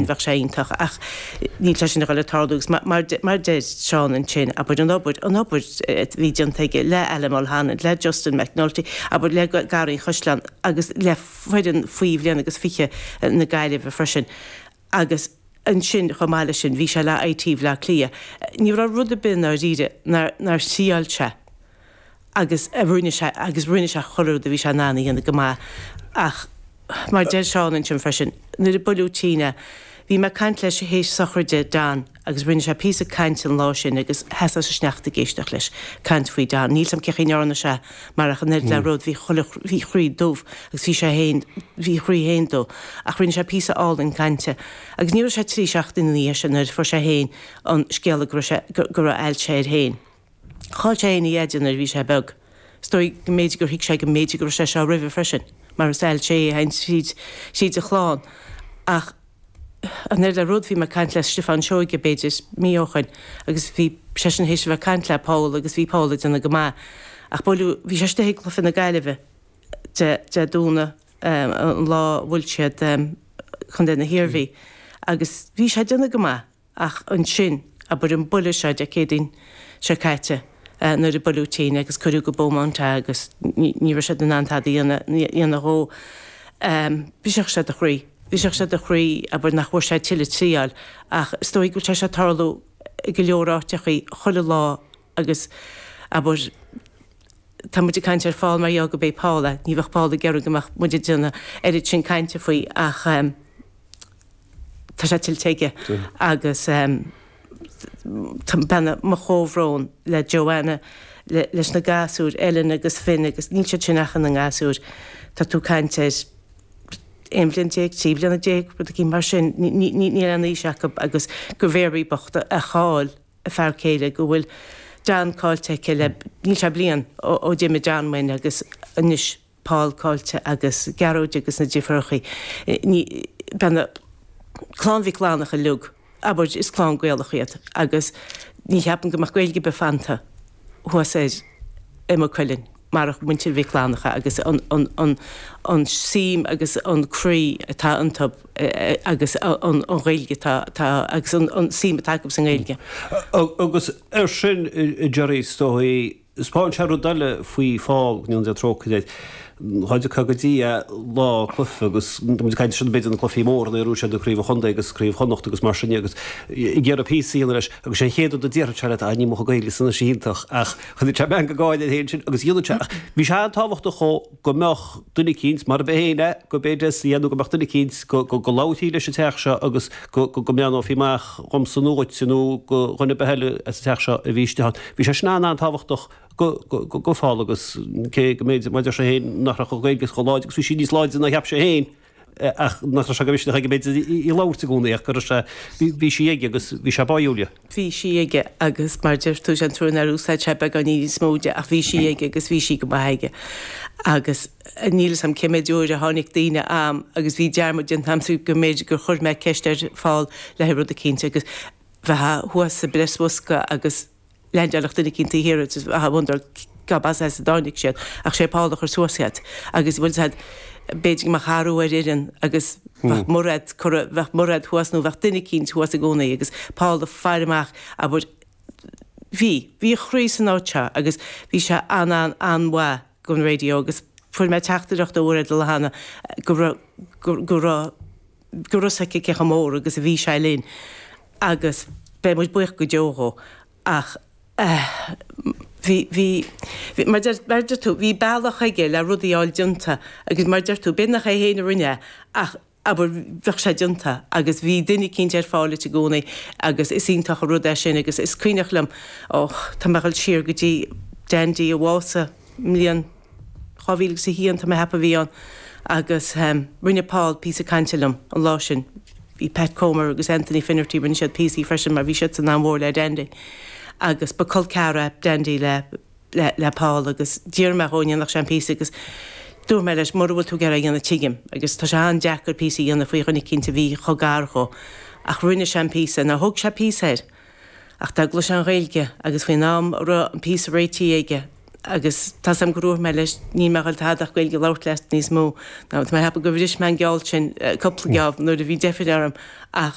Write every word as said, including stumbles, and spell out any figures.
bheadh sé iontach ach níl sé sin ag dul ag tarlú agus mar mar deir Seán ansin abair an obair an obair a bhí déanta aige le Alan Mulholland, le Justin McNulty, abair le Garraí an Chaisleáin agus le foireann faoi bhliain agus fiche na Gaillimhe freisin agus ansin chomh maith leis sin bhí sé le IT Bhaile Átha Cliath. Ní raibh rud ar bith i ndáiríre nár nár thriáil sé agus a rinne sé agus rinne sé chuile rud a bhí sé in ann a dhéanamh go maith ach mar deir Seán ansin freisin nuair a buaileadh tinn é bhí mé ag caint leis théis sochraide Don agus rinne sé píosa cainte an lá sin agus sheas an sneachta ag éisteacht leis caint faoi Don. Níl 's a'm cén chaoi a ndearna sé mar ach an oiread le rud bhí chuile bhí a chroí dubh agus bhí sé féin bhí a chroí féin dubh ach rinne sé píosa álainn cainte agus ní raibh sé trí seachtaine ina dhiaidh sin nuair a fuair sé féin an scéala go raibh sé go raibh ailse air féin. Chaill sé féin a dheaide nuair a bhí sé beag. Is dóigh go mb'fhéidir gur thuig sé go mb'fhéidir go raibh sé seo roimhe freisin mar is ailse é a théann tríd tríd a chlann ach an oiread le rud bhí mé ag caint le Stiofán Seoige b'fhéidir mí ó shin agus bhí seisean théis a bheith ag caint le Paul agus bhí Paul ag déanamh go maith ach buaileadh bhí sé istigh ag cluiche na Gaillimhe Dé Dé Domhnaigh an lá a bhuail siad Contae na hIarmhí agus bhí sé ag déanamh go maith ach ansin abair an buille seo Dé Céadaoin seo caite nuair a buaileadh tinn agus cuireadh go Beaumont é agus ní raibh siad in ann tada a dhéanamh dhó. Brisfeadh sé do chroí. Brisfeadh sé do chroí abair nach bhfuair sé tuilleadh triáil ach is dóigh go bhfuil sé seo ag tarlú i go leor áiteachaí chuile lá agus abair tá muid ag caint ar Phól mar gheall go b'é Paul é, ní bheadh Paul ag iarraidh go mbeadh muid ag déanamh oiread sin cainte faoi ach tá sé tuillte aige agus tá mo chomhbhrón le Joanna, leis na gasúir, Ellen agus Finn agus níl siad sin ach ina ngasúir, tá tú ag caint ar aon bhliain déag, trí bliana déag, rud éicint mar sin, níl aon aois acu agus go Mary bocht a chaill a fear céile, go bhfuil John caillte aici le, níl sé bliain ó d'imigh John uainn agus anois Paul caillte agus Gearóid agus na deirfiúrachaí, ní, bean, clann Mhic Fhlanncha uilig, abair, is clann Gaelach iad agus ní cheapaim go mbeadh Gaeilge ar bith fanta thuas ar i Maigh Cuilinn marach muintir Mhic Fhlanncha agus an, an, an, an suim agus an croí atá iontu agus an, an Ghaeilge atá, atá agus an, an suim atá acu sa nGaeilge. Agus ar sin, a Gerry, is dóigh, 'Spáin sé rud eile faoi Phól, go ndéana Dia trócaire air. Cha dtiocfá go dtí é lá cluiche agus tá muid ag caint ansin b'fhéidir na cluichí móra nuair a bhuaigh siad an Craobh an Chontae agus Craobh Chonnacht agus mar sin de agus ag iarraidh píosa a dhéanamh leis agus sé an chéad rud a déarfadh sé leat, ah ní mo chuid Gaeilge san anois iontach ach choinnigh sé meangadh gáire air féin sin agus dhéanadh sé ach bhí sé an-tábhachtach dhó go mbeadh duine eicínt, mar ab é féin é, go b'é Des a dhéanamh go mbeadh duine eicínt go go go labharfaí leis an teach seo agus go go go mbreathnófaí amach dhomsa nó dhuitse nó go dhuine ar bith eile as an teach seo a bhí istigh ann. Bhí sé sin an-an-tábhachtach go Phól agus cé go mb'fhéidir, mar a deir sé féin, nach raibh a Ghaeilge chomh láidir agus bhí sí níos láidre ná a cheap sé féin ach nach raibh sé go misneach aige b'fhéidir í a labhairt i gcónaí ach go raibh sé, bhí sí aige agus bhí sé báúil di. Bhí sí aige agus mar a deir tú, sé an trua nár úsáid sé beagáinín níos mó di ach bhí sí aige agus bhí sí go maith aige agus níl 'fhios a'm cé méid uair a tháinig daoine a'm agus bhí dearmad déanta a'msa go mb'fhéidir gur chuir mé ceist ar Phól le haghaidh rud eicínt agus bheifeá thuas sa bpreasbhosca agus leaindeálfadh duine eicínt taobh thiar agus I wonder gob as as a dtáinig siad ach sé Paul a chuir suas iad agus bhfuil 'fhios a'd b'fhéidir go mbeadh athrú ar fhoireann agus bheadh Mairéad curtha bheadh Mairéad thuas nó bheadh duine eicínt thuas i gcónaí agus Paul ag faire amach abair bhí bhí a chroí san áit seo agus bhí sé an-an-an-mhaith don raidió agus fuair mé teachtaireacht ó Mhairéad Holohan go raibh go go raibh go raibh 'fhios aici cé chomh mór agus a bhí sé linn agus beidh muid buíoch go deo dhó ach bhí, bhí, bhí, mar deir, mar deir tú, bhí bealach aige le rudaí a fháil déanta agus mar deir tú, b'fhéidir nach é féin a rinne é ach abair bheadh sé déanta agus bhí duine eicínt ar fáil duit i gcónaí agus is iontach an rud é sin agus is cuimhneach liom, ó, tá mé ag dul siar go dtí Dandy a bhásaigh i mbliain dhá mhíle agus a haon, tá mé ag ceapadh a bhí ann agus rinne Paul píosa cainte liom an lá sin. Bhí Pat Comer agus Anthony Finnerty, rinne siad píosaí freisin mar bhí siadsan an-mhór le Dandy agus ba col ceathrar é Dandy le le le Paul agus d'iarr mé dhó an ndéanfadh sé an píosa agus dúirt mé leis mura bhfuil tú ag iarraidh é a dhéanamh tuigim agus tá sé an-deacair píosa a dhéanamh faoi dhuine eicínt a bhí chomh gar dhó ach rinne sé an píosa. Now thóg sé píosa air ach dá gcloisfeá an Ghaeilge agus faoin am a raibh an píosa réitithe aige agus tá 's a'm gur dhúirt mé leis níl mé ag dul tada ach Gaeilge a labhairt leat níos mó. Now tá mé ag ceapadh gur bhris mé an geall sin cúpla geábh nuair a bhí deifir orm ach